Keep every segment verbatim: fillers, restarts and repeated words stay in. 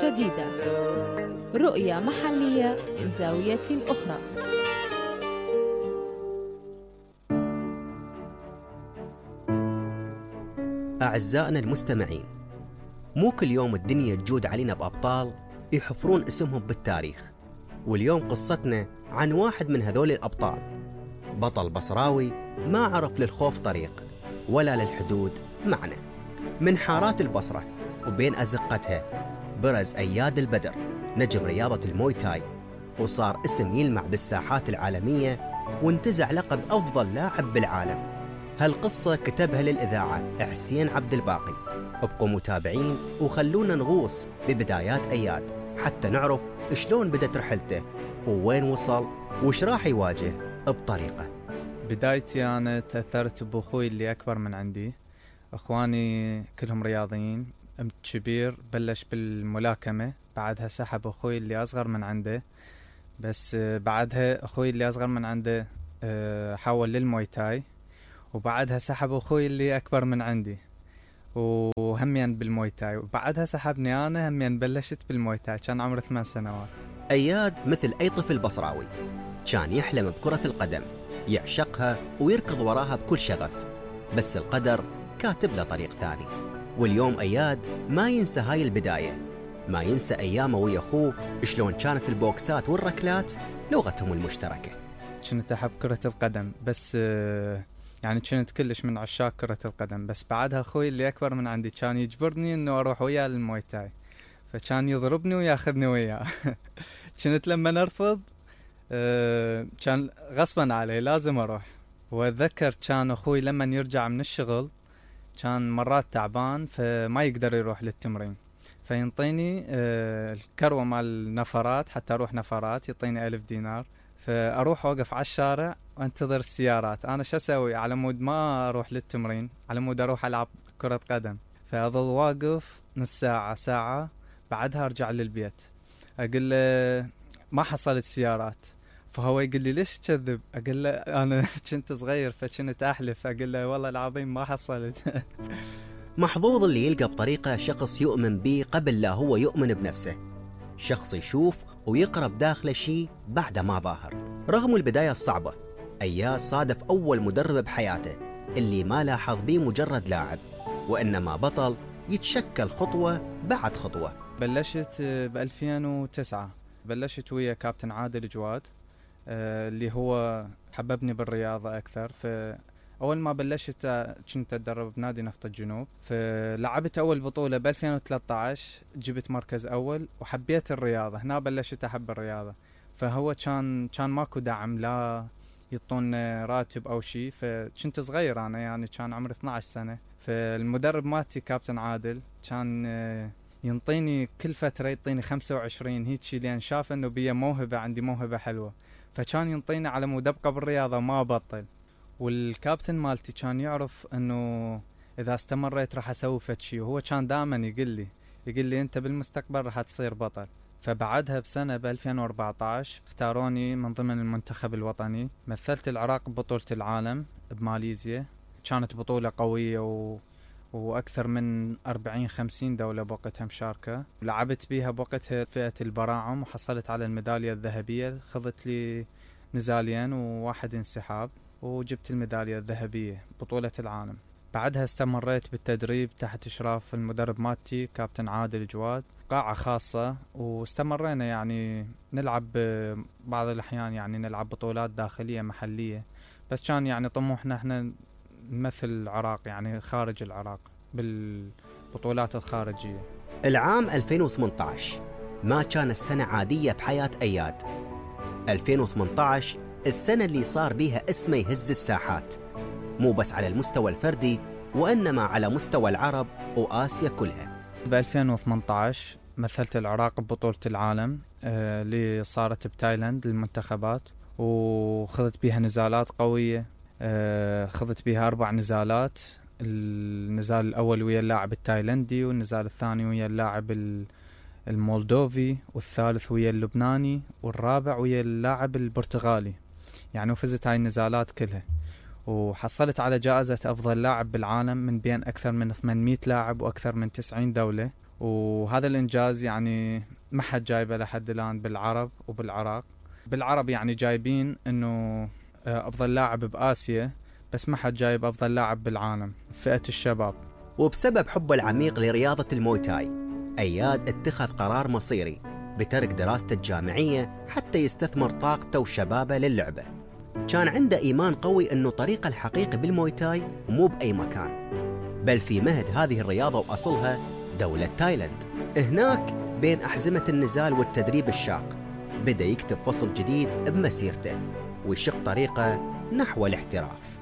جديدة، رؤية محلية من زاوية أخرى. أعزائنا المستمعين، مو كل يوم الدنيا تجود علينا بأبطال يحفرون اسمهم بالتاريخ، واليوم قصتنا عن واحد من هذول الأبطال، بطل بصراوي ما عرف للخوف طريق ولا للحدود معنى. من حارات البصرة وبين أزقتها برز أياد البدر، نجم رياضة الموي تاي، وصار اسم يلمع بالساحات العالمية، وانتزع لقب أفضل لاعب بالعالم. هالقصة كتبها للإذاعة حسين عبد الباقي. ابقوا متابعين وخلونا نغوص ببدايات أياد حتى نعرف شلون بدت رحلته ووين وصل وش راح يواجه بطريقة. بدايتي أنا تأثرت بأخوي اللي أكبر من عندي. أخواني كلهم رياضيين. أمت كبير بلش بالملاكمة، بعدها سحب أخوي اللي أصغر من عنده، بس بعدها أخوي اللي أصغر من عنده حول للموي تاي، وبعدها سحب أخوي اللي أكبر من عندي وهمين بالموي تاي، وبعدها سحبني أنا همين بلشت بالموي تاي. كان عمري ثمان سنوات. أياد مثل أي طفل بصراوي كان يحلم بكرة القدم، يعشقها ويركض وراها بكل شغف، بس القدر كاتب له طريق ثاني. واليوم أياد ما ينسى هاي البداية، ما ينسى أيامه ويا أخوه شلون كانت البوكسات والركلات لغتهم المشتركة. كنت أحب كرة القدم، بس يعني كنت كلش من عشاق كرة القدم، بس بعدها أخوي اللي أكبر من عندي كان يجبرني إنه أروح وياه للموي تاي، فكان يضربني وياخذني وياه. كنت لما نرفض كان غصبا علي لازم أروح. وأتذكر كان أخوي لما يرجع من الشغل كان مرات تعبان فما يقدر يروح للتمرين، فينطيني الكروة مال النفرات حتى أروح نفرات، يعطيني ألف دينار، فأروح أوقف على الشارع وانتظر السيارات. أنا شو أسوي على مود ما أروح للتمرين، على مود أروح ألعب كرة قدم، فأظل واقف نص ساعة ساعة، بعدها أرجع للبيت أقول له ما حصلت سيارات، فهو يقول لي ليش تكذب؟ أقول له أنا كنت صغير فكنت أحلف، أقول له والله العظيم ما حصلت. محظوظ اللي يلقى بطريقة شخص يؤمن به قبل لا هو يؤمن بنفسه، شخص يشوف ويقرب داخله شيء بعد ما ظاهر. رغم البداية الصعبة، أياد صادف أول مدرب بحياته اللي ما لاحظ بيه مجرد لاعب، وإنما بطل يتشكل خطوة بعد خطوة. بلشت بألفين وتسعة، بلشت ويا كابتن عادل جواد اللي هو حببني بالرياضة أكثر. فأول ما بلشت كنت أتدرب بنادي نفط الجنوب، فلعبت أول بطولة بألفين وثلاثة عشر، جبت مركز أول وحبيت الرياضة. هنا بلشت أحب الرياضة، فهو كان كان ماكو دعم، لا يطون راتب أو شيء، فكنت صغير أنا يعني كان عمري اثنتي عشرة سنة. فالمدرب ماتي كابتن عادل كان ينطيني كل فترة يعطيني خمسة وعشرين هيك، لأن شاف إنه بيا موهبة، عندي موهبة حلوة، فكان ينطيني على مود أبقى بالرياضة ما أبطل. والكابتن مالتي كان يعرف إنه إذا استمريت راح أسوي فد شيء، وهو كان دائما يقول لي يقول لي أنت بالمستقبل راح تصير بطل. فبعدها بسنة بألفين وأربعة عشر اختاروني من ضمن المنتخب الوطني، مثلت العراق ببطولة العالم بماليزيا. كانت بطولة قوية و... وأكثر من أربعين خمسين دولة بوقتها مشاركة، لعبت بيها بوقتها فئة البراعم وحصلت على الميدالية الذهبية. خذت لي نزالين وواحد انسحاب وجبت الميدالية الذهبية بطولة العالم. بعدها استمريت بالتدريب تحت إشراف المدرب ماتي كابتن عادل جواد، قاعة خاصة، واستمرينا يعني نلعب بعض الأحيان يعني نلعب بطولات داخلية محلية، بس كان يعني طموحنا احنا نمثل العراق يعني خارج العراق بالبطولات الخارجية. العام ألفين وثمانية عشر ما كان السنة عادية بحياة أياد. ألفين وثمانية عشر السنة اللي صار بيها اسمه يهز الساحات، مو بس على المستوى الفردي وإنما على مستوى العرب وآسيا كلها. ب ألفين وثمانية عشر مثلت العراق ببطولة العالم آه اللي صارت بتايلاند للمنتخبات، وخذت بيها نزالات قوية. آه خذت بيها أربع نزالات، النزال الأول ويا اللاعب التايلندي، والنزال الثاني ويا اللاعب المولدوفي، والثالث ويا اللبناني، والرابع ويا اللاعب البرتغالي. يعني وفزت هاي النزالات كلها، وحصلت على جائزة أفضل لاعب بالعالم من بين أكثر من ثمانمئة لاعب وأكثر من تسعين دولة. وهذا الإنجاز يعني ما حد جايبه لحد الآن بالعرب وبالعراق. بالعرب يعني جايبين إنه أفضل لاعب بآسيا، بس ما حد جايب أفضل لاعب بالعالم فئة الشباب. وبسبب حبه العميق لرياضة الموي تاي، أياد اتخذ قرار مصيري بترك دراسته الجامعية حتى يستثمر طاقته وشبابه للعبة. كان عنده إيمان قوي أنه طريقه الحقيقي بالموي تاي مو بأي مكان، بل في مهد هذه الرياضة وأصلها دولة تايلاند. هناك بين أحزمة النزال والتدريب الشاق بدأ يكتب فصل جديد بمسيرته ويشق طريقه نحو الاحتراف.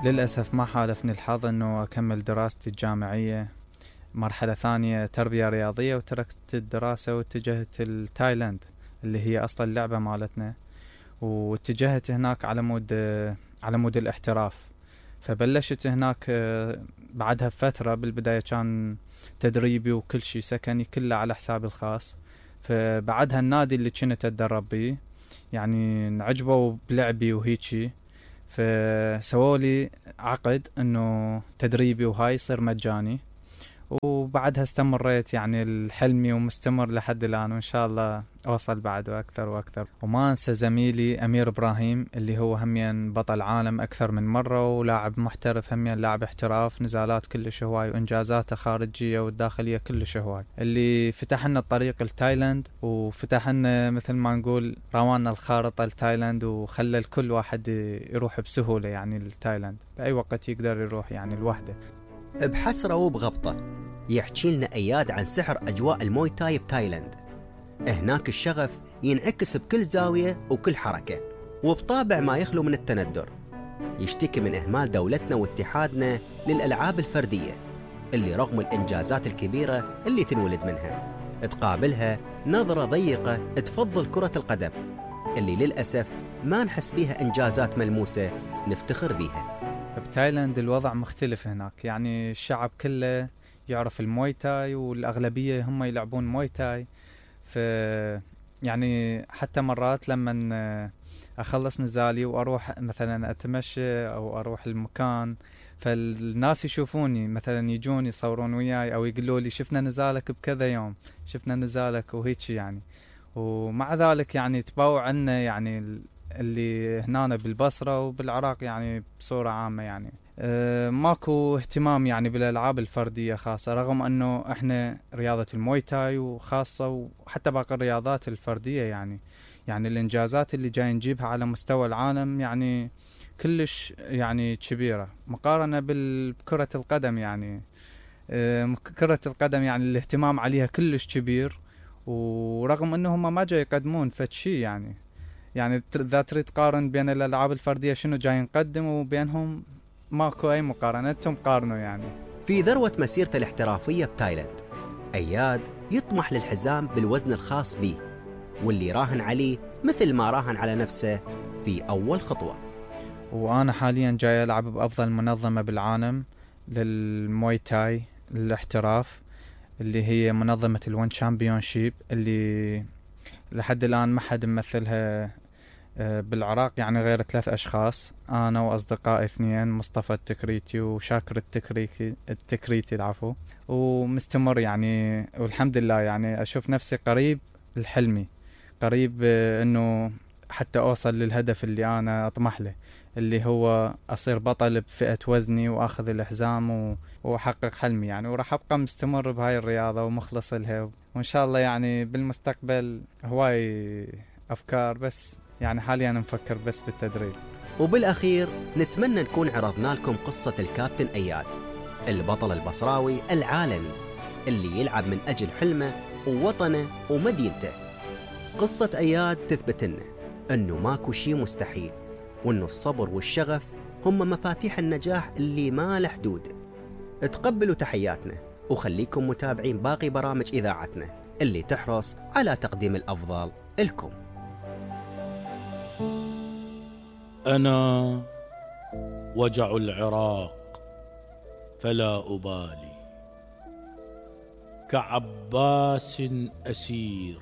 للأسف ما حالفني الحظ أنه أكمل دراستي الجامعية مرحلة ثانية تربية رياضية، وتركت الدراسة واتجهت التايلاند اللي هي أصل اللعبة مالتنا، واتجهت هناك على مود على مود الاحتراف. فبلشت هناك بعدها فترة، بالبداية كان تدريبي وكل شيء سكني كله على حسابي الخاص. فبعدها النادي اللي كنت أتدرب بيه يعني نعجبوا بلعبي وهيجي، فسووا لي عقد انه تدريبي وهاي يصير مجاني، وبعدها استمريت يعني الحلمي ومستمر لحد الآن، وإن شاء الله أوصل بعد وأكثر وأكثر. وما أنسى زميلي أمير إبراهيم اللي هو هميا بطل عالم أكثر من مرة ولاعب محترف، هميا لاعب احتراف، نزالات كلش هواي وإنجازاته خارجية والداخلية كلش هواي، اللي فتح لنا الطريق لتايلاند وفتح لنا مثل ما نقول روانا الخارطة لتايلاند، وخلى الكل واحد يروح بسهولة يعني لتايلاند بأي وقت يقدر يروح يعني لوحده. بحسرة وبغبطة يحكي لنا أياد عن سحر أجواء الموي تاي بتايلاند. هناك الشغف ينعكس بكل زاوية وكل حركة، وبطابع ما يخلو من التندر. يشتكي من إهمال دولتنا واتحادنا للألعاب الفردية اللي رغم الإنجازات الكبيرة اللي تنولد منها تقابلها نظرة ضيقة تفضل كرة القدم اللي للأسف ما نحس بيها إنجازات ملموسة نفتخر بيها. بتايلاند الوضع مختلف هناك، يعني الشعب كله يعرف الموي تاي والأغلبية هم يلعبون موي تاي. ف يعني حتى مرات لما أخلص نزالي وأروح مثلا أتمشى أو أروح المكان، فالناس يشوفوني مثلا يجون يصورون وياي أو يقولوا لي شفنا نزالك بكذا يوم، شفنا نزالك وهيك يعني. ومع ذلك يعني تباوع عنا يعني اللي هنا بالبصرة وبالعراق يعني بصورة عامة يعني أه ماكو اهتمام يعني بالألعاب الفردية خاصة، رغم أنه احنا رياضة الموي تاي وخاصة وحتى باقي الرياضات الفردية يعني يعني الإنجازات اللي جاي نجيبها على مستوى العالم يعني كلش يعني كبيرة مقارنة بكرة القدم. يعني أه كرة القدم يعني الاهتمام عليها كلش كبير، ورغم أنهم ما جاي يقدمون فتشي يعني يعني إذا تريد تقارن بين الألعاب الفردية شنو جاي نقدم وبينهم ماكو أي مقارنة، انتم قارنوا يعني. في ذروة مسيرته الاحترافية بتايلاند، أياد يطمح للحزام بالوزن الخاص به واللي راهن عليه مثل ما راهن على نفسه في أول خطوة. وأنا حاليا جاي ألعب بأفضل منظمة بالعالم للموي تاي الاحتراف اللي هي منظمة الون شامبيونشيب، اللي لحد الآن ما حد ممثلها بالعراق يعني غير ثلاث أشخاص، أنا وأصدقائي اثنين، مصطفى التكريتي وشاكر التكريتي التكريتي العفو. ومستمر يعني والحمد لله يعني أشوف نفسي قريب الحلمي، قريب إنه حتى أوصل للهدف اللي أنا أطمح له، اللي هو أصير بطل بفئة وزني وأخذ الحزام وأحقق حلمي يعني. وراح أبقى مستمر بهاي الرياضة ومخلص لها، وإن شاء الله يعني بالمستقبل هواي أفكار، بس يعني حاليا نفكر بس بالتدريب. وبالأخير نتمنى نكون عرضنا لكم قصة الكابتن أياد البطل البصراوي العالمي اللي يلعب من أجل حلمه ووطنه ومدينته. قصة أياد تثبت لنا أنه ماكو شي مستحيل، وأنه الصبر والشغف هم مفاتيح النجاح اللي ما له حدود. تقبلوا تحياتنا وخليكم متابعين باقي برامج إذاعتنا اللي تحرص على تقديم الأفضل لكم. أنا وجع العراق فلا أبالي، كعباس أسير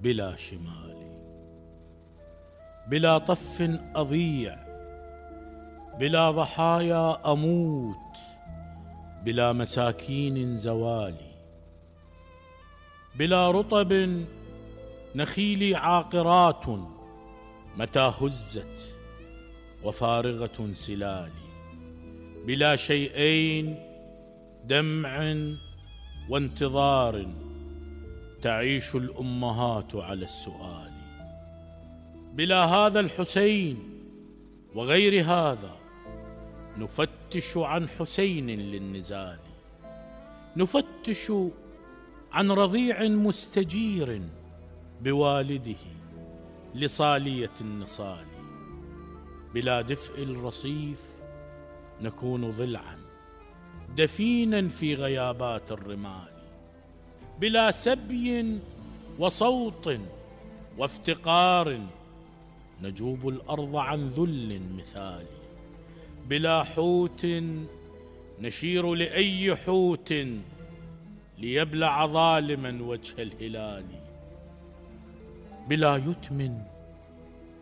بلا شمال، بلا طف أضيع، بلا ضحايا أموت، بلا مساكين زوالي. بلا رطب نخيلي عاقرات متى هزت وفارغة سلالي. بلا شيئين دمع وانتظار تعيش الأمهات على السؤال. بلا هذا الحسين وغير هذا نفتش عن حسين للنزال، نفتش عن رضيع مستجير بوالده لصالية النصال. بلا دفء الرصيف نكون ضلعا دفينا في غيابات الرمال. بلا سبي وصوت وافتقار نجوب الأرض عن ذل مثالي. بلا حوت نشير لأي حوت ليبلع ظالما وجه الهلال. بلا يتم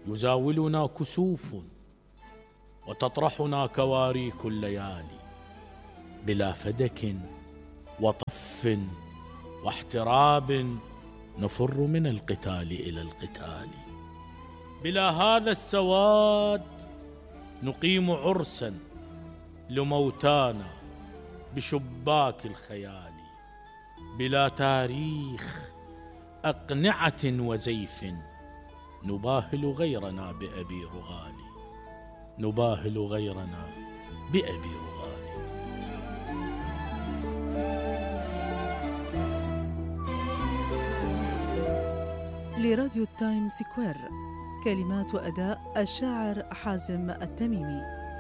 يزاولنا كسوف وتطرحنا كواريك الليالي. بلا فدك وطف واحتراب نفر من القتال إلى القتال. بلا هذا السواد نقيم عرسا لموتانا بشباك الخيال. بلا تاريخ أقنعة وزيف نباهل غيرنا بأبي رغالي، نباهل غيرنا بأبي رغالي. لراديو التايم سكوير، كلمات وأداء الشاعر حازم التميمي.